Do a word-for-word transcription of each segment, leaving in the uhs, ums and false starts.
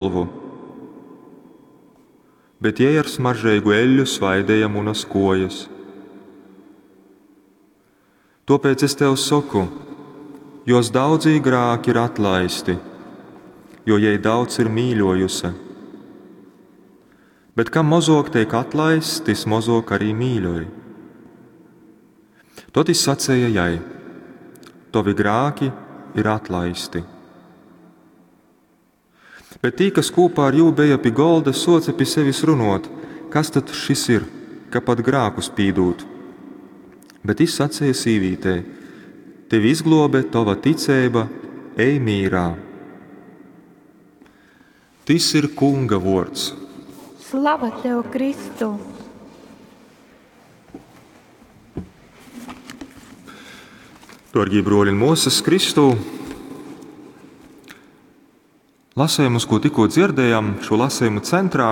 Golvu, bet jei ar smaržeigu eļļu svaideja munas kōjas. Tōpēc es tev soku, jōs daudzī grāki ir atlaisti, jo jei daudz ir mīļōjuse. Bet kam mozōk teik atlaists, tys mozōk arī mīļoj. Tod jis saceja jai: Tovi grāki ir atlaisti. Bet tī, kas kūpā ar jū beja pi golda, sōce pi sevis runōt: Kas tad šis ir, ka pat grākus pīdūd? Bet jis saceja sīvītei: Tevi izglōbe tova ticeiba, ej mīrā. Tys ir Kunga vōrds. Slava tev, Kristu! Dārgie brōļi un mōsas Kristū, lasējums, ko tikko dzirdējām, šo lasējumu centrā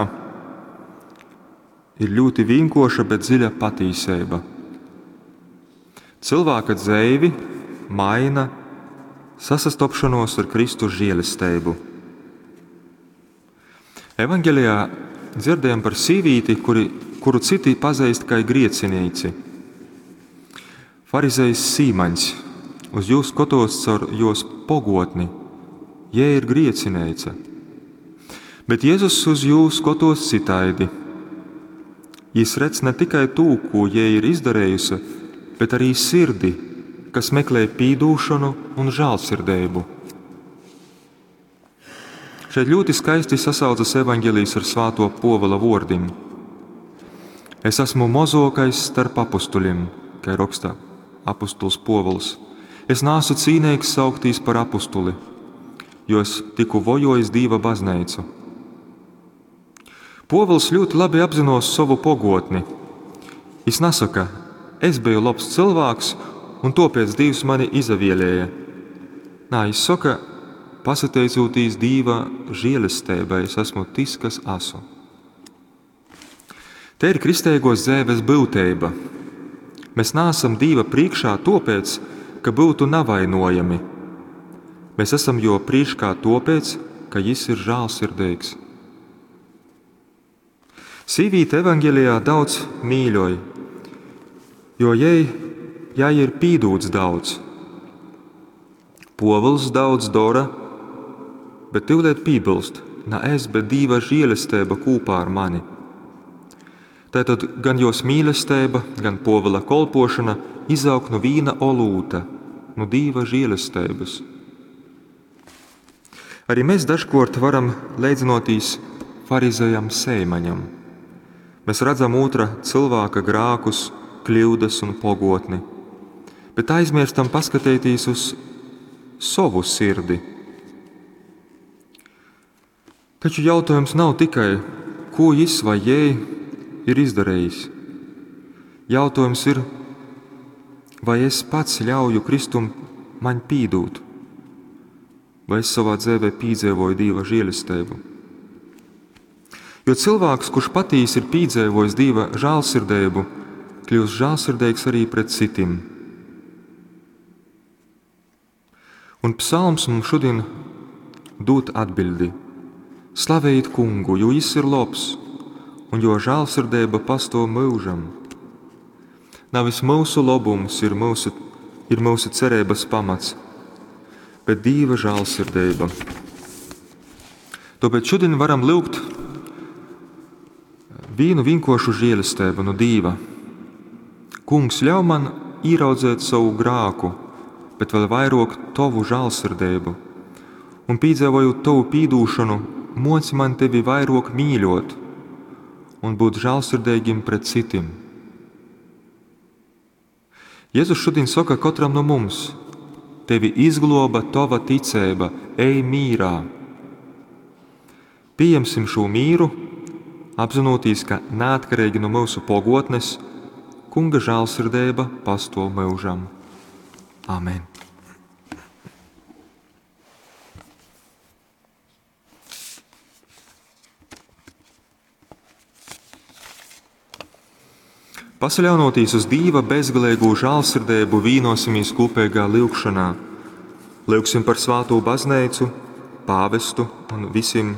ir ļoti vienkārša, bet dziļa patīseiba. Cilvēka dzeivi maina sasastopšanos ar Kristus žēlesteibu. Evangelijā dzirdējam par sīvīti, kuri, kuru citi pazīst kā griecinīci. Farizejs Sīmaņs uz jū skatos caur jos pogotni, jei ir griecineica. Bet Jēzus uz jū skatos citaidi. Jis redz ne tikai tū, ko jei ir izdarējusi, bet arī sirdi, kas meklē pīdūšanu un žālsirdeibu. Šeit ļoti skaisti sasaucas evaņģēlijs ar svāto Pōvila vōrdim. Es esmu mozokais starp apustuļiem, kā raksta apustuls Pōvils. Es nāsu cīnīgs sauktīs par apustuli, jo es tiku vojojis Dīva baznīcu. Pōvils ļoti labi apzinos savu pogotni. Jis nasaka, es biju labs cilvēks, un tāpēc Dievs mani izavielēja. Nā, jis saka, pasateicūtīs Dīva žēlestībai, es esmu tis, kas esmu. Te ir kristeigos dzēves būteiba. Mēs neesam Dīva priekšā tāpēc, ka būtu navainojami. Mēs esam jo priekšā tāpēc, ka Jis ir žālsirdīgs. Sīvīte evaņģēlijā daudz mīļoj, jo jai, jai ir pīdūts daudz. Pōvils daudz dara, bet tyvlēt piebilst, na es, bet Dīva žēlestība kopā ar mani. Tātad gan jos mīlestība, gan Pōvila kolpošana izaug no vīna olūta, no Dīva žēlestības. Arī mēs dažkārt varam leidzinoties farizejam Seimaņam. Mēs redzam otra cilvēka grākus, kļūdas un pogotni, bet aizmirstam paskatīties uz savu sirdi. Taču jautājums nav tikai, ko jis vai jai ir izdarījis. Jautājums ir, vai es pats ļauju Kristum man pīdūt, vai es savā dzīvē pīdzīvoju Dieva žēlestību. Jo cilvēks, kurš patīs ir pīdzīvojis Dieva žālsirdību, kļūst žālsirdīgs arī pret citiem. Un psalms mums šodien dod atbildi. Slavējiet kungu, jo jis ir labs, un jo žālsirdība pastāv mūžam. Nevis mūsu labums ir mūsu, ir mūsu cerības pamats, bet Dieva žālsirdība. Tāpēc šodien varam lūgt vienu vienkāršu žēlastību no Dieva. Kungs, ļauj man ieraudzēt savu grāku, bet vēl vairāk tavu žālsirdību, un piedzīvojot tavu pīdūšanu, moci man tevi vairāk mīļot un būt žālsirdīgiem pret citiem. Jēzus šodien saka katram no mums: tevi izgloba tava ticība, ej mīrā. Pieņemsim šo mīru, apzinoties, ka neatkarīgi no mūsu pogotnes, Kunga žālsirdība pastāv mūžam. Amen. Pasaļaunoties uz Dieva bezgalīgo žālsirdību, vīnosimies kopīgā lūgšanā. Lūgsim par svāto baznīcu, pāvestu un visiem